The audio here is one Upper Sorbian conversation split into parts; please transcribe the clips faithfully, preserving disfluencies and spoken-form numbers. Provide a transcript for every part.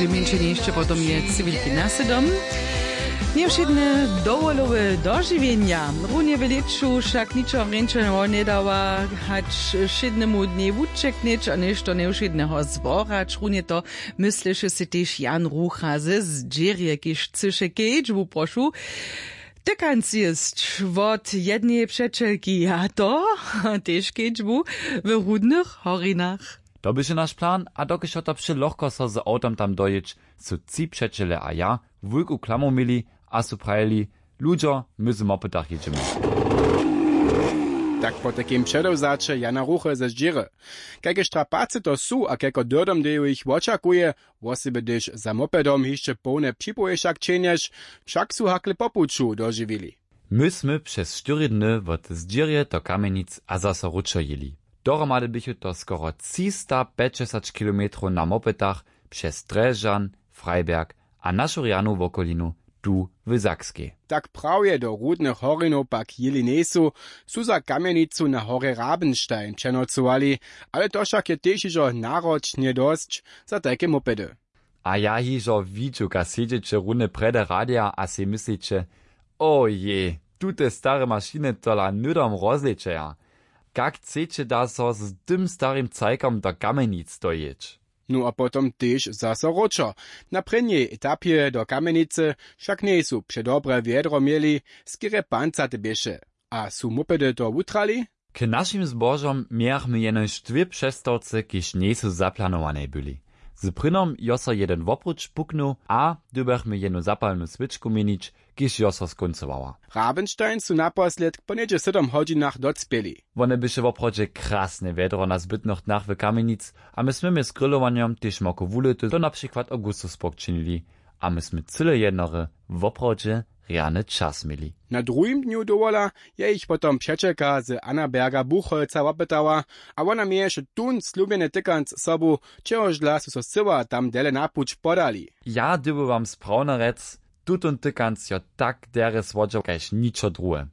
Mjeńšenje hišće potom je cywilki na sydom. Njewšědne dowolowe dožiwjenja runje w lěću wšak ničo rjeńšeho njedawa, hač wšědnemu dnjej wućeknyć a něšto njewšědneho zworać runje to. Mysleše sej tež Jan Rucha ze zdźěrje kiž chcyše kedźbu prošu tykanc jěsć wot jedneje přećelki a to tež kedźbu w rudnych horinach. To běše naš plan a dokelž jo to přelochko so z awtom tam dojěć, su tři přećele a ja wulku klamu měli a su prajili: Ludźo, my z mopytach jědźemy. Tak potajkim předewzaće Jana Ruchy ze zdźěry, kajke štrapacy to su a kajko dyrdom deju jich wočakuje, wosebje hdyž za mopedom hišće połne připowěšak ćehnješ, wšak su hakle po puću dožiwili. My smy přez štyri dny wot zdźěrje do Kamjenic a zaso wróćo jěli. Dohromady běchu to skoro třistapjećdźesać kilometrow na mopetach přez Drježdźan, Freiberg a našu rjanu wokolinu tu w Sakskej. Tak prawje do rudnych horinow pak jěli njejsu, su za Kamjenicu na horje Rabenstein přenocowali, ale to wšak je tež hižo naročnje dosć za tajke mopedy. A ja hižo widźu kaž sedźeće runje prjedy radija a sej mysliće: Ojej, tute stare mašiny tola hnydom rozlečeja. Kak chceće da so z tym starim cajkom do Kamjenic dojěć? Nó a potom tež zaso wróćo. Na prěnjej etapje do Kamjenicy wšak njejsu předobre wjedro měli, skerje pancate běše. A su mopedy to wutrali? K našim zbožom mějachmy jenož dwě přestawce kiž njejsu zaplanowanej byli. Z prynom jo so jeden wopruć puknył a dyrbjachmy jenu zapalnu swěčku měnić, kiž jo so skóncowała. Rabenstein su naposledk po něhdźe sydom hodźinach docpěli. Wone běše woprawdźe krasne wjedro na zbytnych dnach w Kamjenic a my smy mjez grillowanjom tež moko wulyty to na přikład augustusburg činili. A my smy cyle jednory woprawdźe rjany čas měli. Na druhim dnju dowola je jich potom přećelka z Annaberga Buchholza wopytała, a wona měješe tón slubjeny tykanc sobu, čehoždla su so scyła tam dele na puć podali. Ja dyrbju wam sprawno rjec, tutón tykanc jo tak derje słodźał kaž ničo druhe.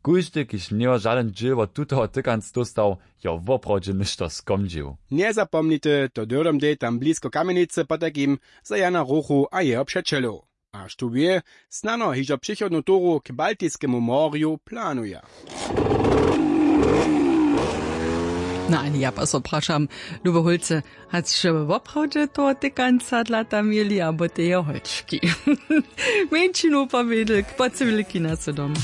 Kóždy kiž njejo žadyn dźěl wot tutoho tykanc dóstał, jo woprawdźe něšto skomdźił. Njezapomnite to dyrdom dej tam blisko Kamjenicy potajkim za Jana Ruchu a jeho přećelow. A štó wě, snano hižo přichodnu turu k Baltiskemu morju planuja. No ani ja pa so prašam, lube holce, hač woprawdźe toho tykanca dla tam měli abo teje holčki? Mjeńšinu pomjedl k pocywilki na sydom.